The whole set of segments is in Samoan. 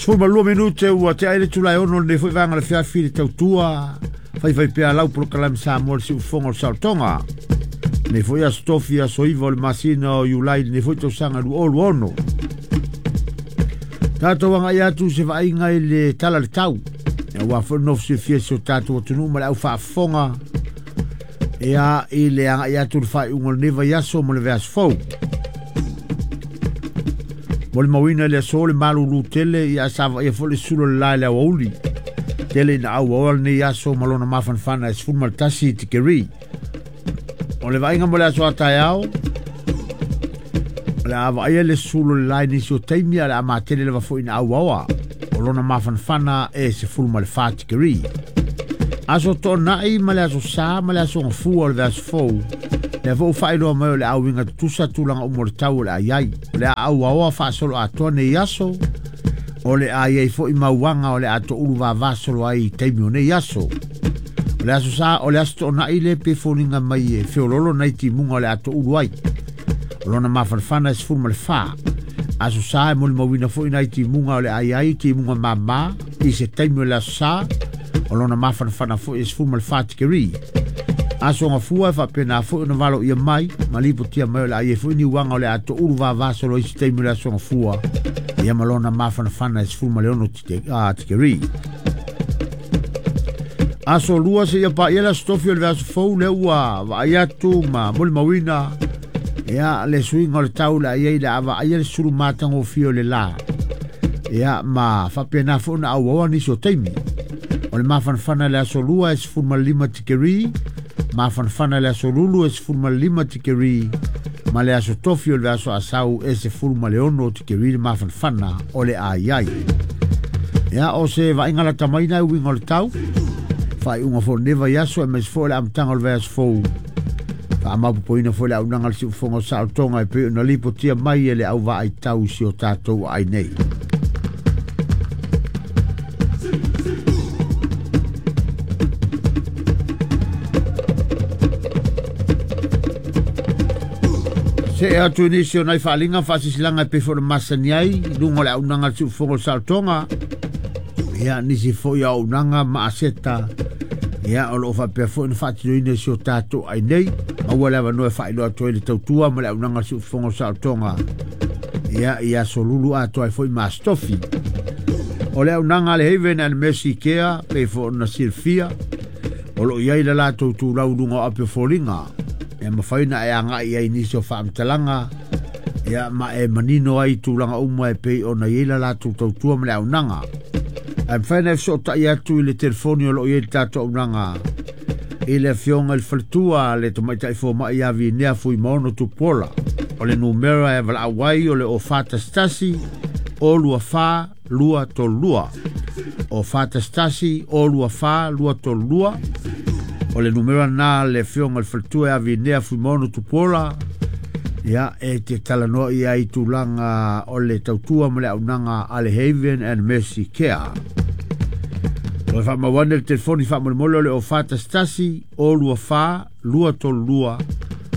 12 minute ua te aile tulai ono le foi vanga le fiafi le tautua fai fai pea lau polokalame Samoa le siufofoga o le saolotoga. Nei foi aso tofi aso 9 o le masina o Iulai nei foi tausaga 2026. Tatou agai atu se vaaiga i le tala le tau. Ua foi nofo silafia si o tatou atunuu ma le au faafofoga ia i le agai atu le faaiuga o lenei vaiaso ma le vaiaso fou. Mo le mauina le aso le malulu tele ia sa vaia foi le sulu o le la i le aoauli. Tele ina auaoa lenei aso ma lona mafanafana e 11 tikeri. O le vaaiga mo le aso a taeao, o le a vaaia le sulu o le la i nisi o taimi a le a matele lava foi ina auaoa. O lona mafanafana e 14 tikeri. Aso toonai ma le aso sa ma le aso gafua o le vaiaso fou. Lea foi ua faailoa mai o le auiga tutusa tulaga uma o le tau o le a iai. O le a auaoa faasolo atoa nei aso, o le a iai foi mauaga o le a toulu vavasolo ai i taimi o nei aso. O le aso sa, o le aso toonai le pe foliga mai e feololo nai timuga o le a toulu ai. O lona mafanafana e 14. Aso sa e molimauina foi nai timuga o le a iai timuga mama i se taimi o le aso sa, o lona mafanafana foi e 14 tikeri. Aso gafua e faapena foi ona valo ia mai, ma lipotia mai o le a iai foi niuaga o le a toulu vavasolo ai se taimi o le aso gafua, ia ma lona mafanafana e 16 tikeri. Aso lua se ia paia le aso tofi o le vaiaso fou lea ua vaai atu ma molimauina ia le suiga o le tau le a iai le a vaaia le sulu matagofie o le la. Ia ma faapena foi ona auaoa nisi o taimi. O le mafanafana le aso lua e 15 tikeri, mafanafana le aso lulu e 15 tikeri, ma le aso tofi o le vaiaso asau e 16 tikeri le mafanafana o le a iai. Ia o se vaaiga lata mai na e uiga o le tau, faaiuga foi o lenei vaiaso e aemaise foi o le amataga o le vaiaso fou. Faamaopoopoina foi le auaunaga a le siufofoga o saolotoga e pei ona lipotia mai e le au vaaitau i si o tatou aai nei. Se e atu i nisi o nai faaaliga faasisilaga e pei foi ona masani ai i luga o le auaunaga a le siufofoga o le saolotoga. Ia nisi foi o auaunaga ma aseta ia o loo faapea foi ona faatinoina i si o tatou ai nei. Maua le avanoa e faailoa atu ai le tautua ma le auaunaga a le siufofoga o le saolotoga ia i aso lulu atoa ai foi ma aso tofi. O le auaunaga a le Haven and Mercy Care pei foi ona silafia o loo i ai le latou tulau i luga o api o foliga. E mafai ona e agai ai nisi o faamatalaga ia ma e manino ai tulaga uma e pei ona i ai le latou tautua ma le auaunaga. Ae mafai ona e fesootai atu i le telefoni o loo i ai le tatou auaunaga i le afioga i le faletua le tamaitai fomai ia Vinea Fuimaono Tupuola. O le numera e valaau ai o le o 411 o 24 232. O 411 o 24 232. O le numera na le afioga i le faletua ia Vinea Fuimaono Tupuola. Ia e te talanoa ia i tulaga o le tautua ma le auaunaga a le Haven and Mercy Care. O le faamauane le telefoni faamolemole o le o 411 o 24 232.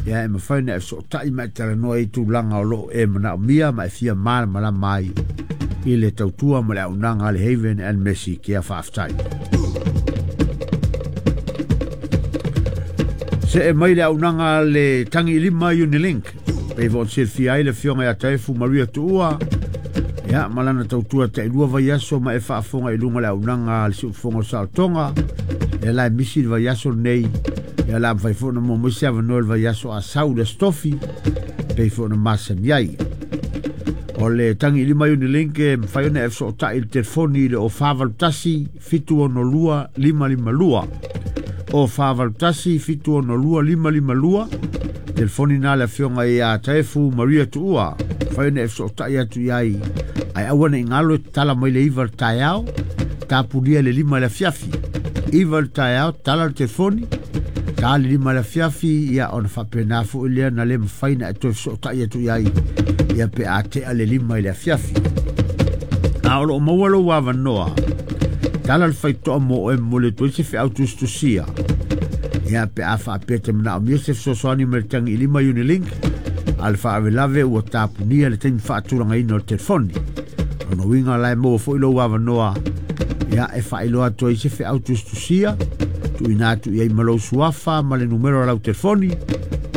Ia e mafai ona e fesootai ma e talanoa i tulaga o loo e manaomia ma e fia malamalama ai i le tautua ma le auaunaga a le Haven and Mercy Care. Faafetai. Se e mai le auaunaga a le Tagi Lima Unilink. Pei foi ona silafia ai le afioga ia Taefu Maria Tuua. Ia ma lana tautua tailua vaiaso ma e faafofoga i luga o le auaunaga a le siufofoga o saolotoga. Ia la e misi le vaiaso lenei. Ia la mafai foi ona maua mai se avanoa i le vaiaso a sau le aso tofi pei foi ona masani ai. O le Tagi Lima Unilink e mafai ona e fesootai i le telefoni i le o 481 762 552. O 481 762 552. Telefoni na le afioga ia Taefu Maria Tuua. Mafai ona e fesootai atu i ai. Ae aua ne i galo e tatala mai le 9 le taeao, tapunia le 5 le afiafi. 9 le taeao, tala le telefoni, ta le 5 le afiafi, ia ona faapena foi lea na le mafai na e toe fesootai atu i ai, ia pe a tea le 5 i le afiafi. A o loo maua lou avanoa, tala le faitoa mo oe mo le atu ai se feau tusitusia. Ia pe a faapea te manaomia se fesoasoani mai le Tagi Lima Unilink, a le faalavelave ua tapunia le taimi faatulagaina o le telefoni. Lona uiga la e maua foi lou avanoa ia e faailoa atu ai se feau tusitusia tuuina atu i ai ma lou suafa ma le numero o lau telefoni.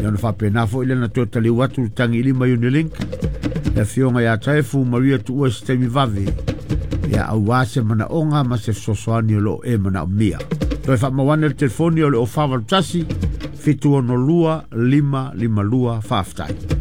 Ia ona faapena foi lea na toe taliu atu le tagilima Unilink le afioga ia Taefu Maria Tuua se taimi vave ia aua se manaoga ma se fesoasoani o loo e manaomia. Toe faamauane le telefoni o le 041 762 552. Faafetai.